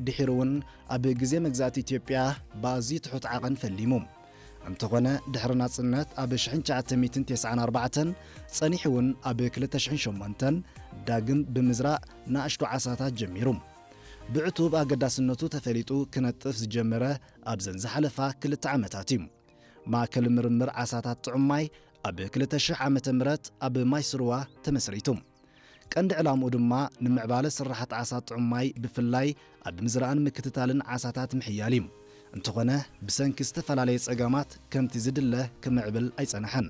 ድሒሩ እውን ኣብ ግዜ መግዛእቲ ኢትዮጵያ ብኣዝዩ ትሑት ዓቐን ፈሊሙ። እንተኾነ፣ ድሕሪ ናጽነት ኣብ ሽሕን ትሽዓተ ሚእትን ተስዓን ኣርባዕተን ጸኒሑ እውን ኣብ ክልተ ሽሕን ሸሞንተን ዳግም ብምዝራእ ንኣሽቱ ዓሳታት ጀሚሩ። ብዕቱብ ኣገዳስነቱ ተፈሊጡ ክነጥፍ ዝጀመረ ኣብዘን ዝሓለፋ ክልተ ዓመታት እዩ። ማእከል ምርምር ዓሳታት ጥዑም ማይ ኣብ ክልተ ሽሕ ዓመተ ምህረት ኣብ ማይ ስርዋ ተመስሪቱ። ቀንዲ ዕላምኡ ድማ ንምዕባለ ስራሓት ዓሳ ጥዑም ማይ ብፍላይ ኣብ ምዝራእን ምክትታልን ዓሳታት ምሕያል እዩ። እንተኾነ ብሰንኪ ዝተፈላለየ ጸገማት ከምቲ ዝድለ ክምዕብል ኣይጸንሐን።